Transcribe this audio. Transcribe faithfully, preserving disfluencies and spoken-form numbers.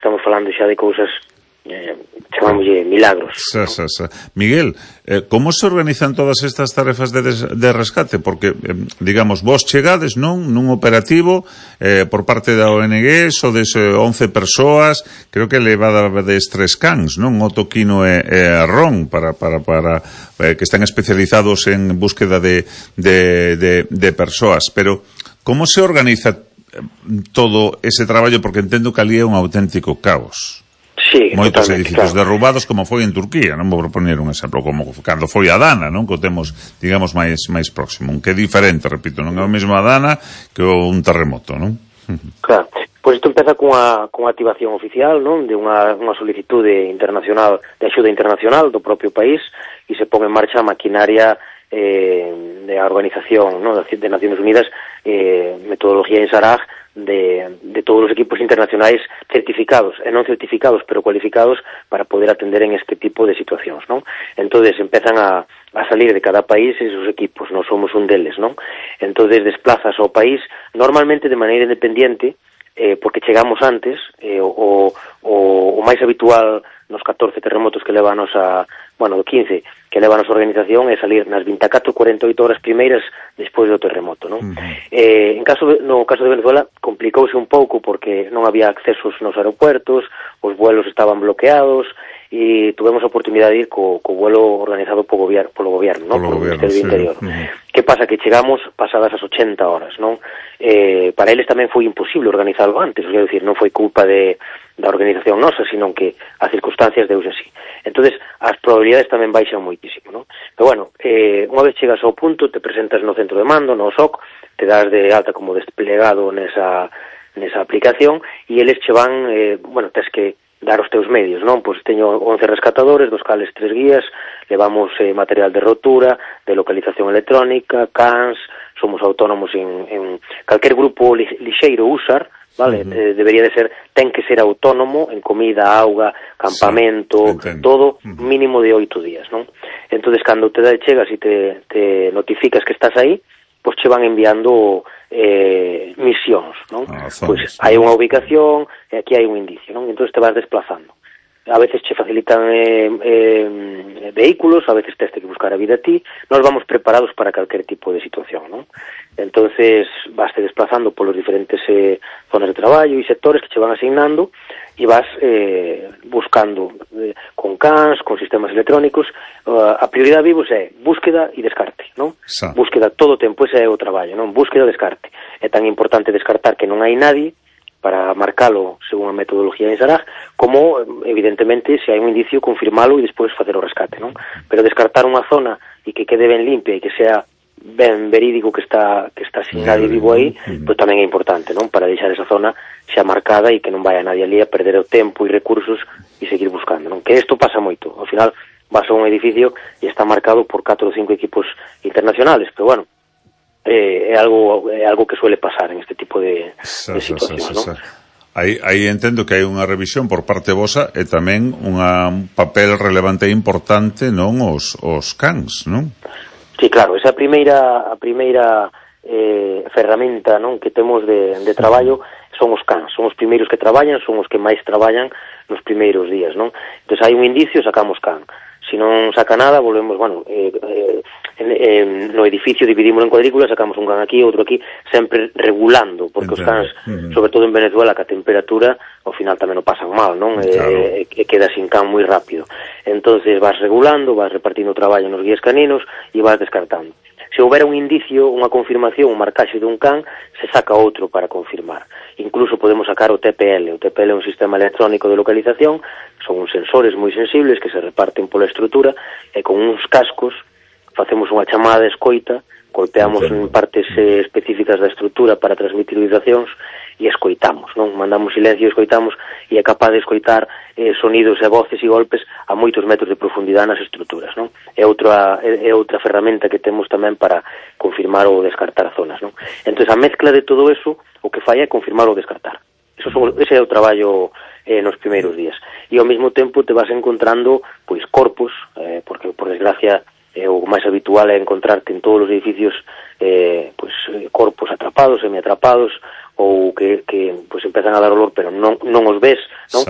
estamos falando xa de cousas eh, chamámoslle milagros. Sa, sa, sa. Miguel, eh, como se organizan todas estas tarefas de, des, de rescate? Porque, eh, digamos, vos chegades, non? Nun operativo eh, por parte da O N G, sodes eh, once persoas, creo que levada des tres cans, non? Otto, Quino e, e Ron, para, para, para eh, que están especializados en búsqueda de, de, de, de persoas. Pero, como se organiza todo ese traballo? Porque entendo que ali é un auténtico caos. Sí, moitos edificios claro. derrubados, como foi en Turquía, non vou proponer un exemplo, como cando foi a Dana, non? Que o temos, digamos, máis máis próximo, un que é diferente, repito, non é o mesmo a Dana que un terremoto, non? Claro, pois isto empeza cunha, cunha activación oficial, non? De unha, unha solicitude internacional, de axuda internacional do propio país, e se pon en marcha a maquinaria eh, de a organización, non? De Nacións Unidas, eh, metodología en Saraj, de, de todos os equipos internacionais certificados, e non certificados, pero cualificados para poder atender en este tipo de situacións, non? Entonces empezan a, a salir de cada país esos equipos, non somos un deles, non? Entonces desplazas ao país normalmente de maneira independiente, eh, porque chegamos antes, eh, o, o, o máis habitual nos catorce terremotos que leva a nosa, bueno, do quince, que leva a nosa organización é salir nas vinte e catro, cuarenta e oito horas primeiras despois do terremoto, non? Uh-huh. Eh, en caso de, no caso de Venezuela complicouse un pouco porque non había accesos nos aeropuertos, os vuelos estaban bloqueados, e tuvemos a oportunidade de ir co, co vuelo organizado po gobier, polo goberno, non? Polo Ministerio do Interior. Uh-huh. Que pasa? Que chegamos pasadas as ochenta horas, non? Eh, para eles tamén foi imposible organizarlo antes, o sea, decir, non foi culpa de da organización nosa, sino que as circunstancias deus así. Entonces, as probabilidades tamén baixan moitísimo, non? Pero bueno, eh, unha vez chegas ao punto, te presentas no centro de mando, no O S O C, te das de alta como desplegado nesa, nesa aplicación, e eles che van, eh, bueno, tes que dar os teus medios, non? Pois teño once rescatadores, dos cales tres guías, levamos eh, material de rotura, de localización electrónica, cans, somos autónomos en, en calquer grupo li, lixeiro usar, vale? Uh-huh. Eh, debería de ser, ten que ser autónomo en comida, auga, campamento, sí, todo uh-huh. mínimo de oito días, non? Entonces, cando te chegas e te, te notificas que estás aí, pois che van enviando eh, misións, non? Ah, pois hai unha ubicación e aquí hai un indicio, non? Entón te vas desplazando. A veces che facilitan eh, eh, vehículos, a veces tes que buscar a vida a ti. Nos vamos preparados para calquer tipo de situación, non? Entonces vaste desplazando polos diferentes eh, zonas de traballo e sectores que che van asignando e vas eh, buscando eh, con cans, con sistemas electrónicos. Uh, a prioridade vivos é búsqueda e descarte, non? Sa. Búsqueda todo o tempo, ese é o traballo, non? Búsqueda e descarte. É tan importante descartar que non hai nadie para marcalo según a metodología de Saraj, como, evidentemente, se hai un indicio, confirmalo e despois facer o rescate, non? Pero descartar unha zona e que quede ben limpia e que sea ben verídico que está que está sin nadie vivo aí, pois tamén é importante, non? Para deixar esa zona xa marcada e que non vaya nadie ali a perder o tempo e recursos e seguir buscando, non? Que isto pasa moito. Ao final vas a un edificio e está marcado por catro ou cinco equipos internacionales, pero bueno, Eh, é algo é algo que suele pasar en este tipo de, sa, de situacións, sa, sa, sa, non? Aí, aí entendo que hai unha revisión por parte vosa e tamén unha, un papel relevante e importante, non, os, os cans, non? Sí, claro, esa primeira a primeira eh, ferramenta, non, que temos de, de traballo son os cans, son os primeiros que traballan, son os que máis traballan nos primeiros días, non? Entón hai un indicio, sacamos can. Se non saca nada, volvemos, bueno, eh, eh, en, eh, no edificio dividimos en cuadrículas, sacamos un can aquí, outro aquí, sempre regulando, porque Entendo. Os cans, uh-huh. sobre todo en Venezuela, que a temperatura, ao final tamén o pasan mal, non? Claro. E eh, eh, queda sin can moi rápido. Entonces vas regulando, vas repartindo o traballo nos guías caninos e vas descartando. Se houbera un indicio, unha confirmación, un marcaxe dun can, se saca outro para confirmar. Incluso podemos sacar o T P L. O T P L é un sistema electrónico de localización, son uns sensores moi sensibles que se reparten pola estrutura e con uns cascos facemos unha chamada de escoita, golpeamos en partes eh, específicas da estrutura para transmitir vibracións e escoitamos, non? Mandamos silencio e escoitamos e é capaz de escoitar eh, sonidos e voces e golpes a moitos metros de profundidade nas estruturas, non? É outra, é, é outra ferramenta que temos tamén para confirmar ou descartar zonas, non? Entón, a mezcla de todo eso, o que fai é confirmar ou descartar. Eso son, ese é o traballo eh, nos primeiros días. E ao mesmo tempo te vas encontrando, pois, corpos, eh, porque, por desgracia, eh, o máis habitual é encontrarte en todos os edificios eh, pois, corpos atrapados, semiatrapados, ou que, que pois, empezan a dar olor, pero non, non os ves, non? Sa.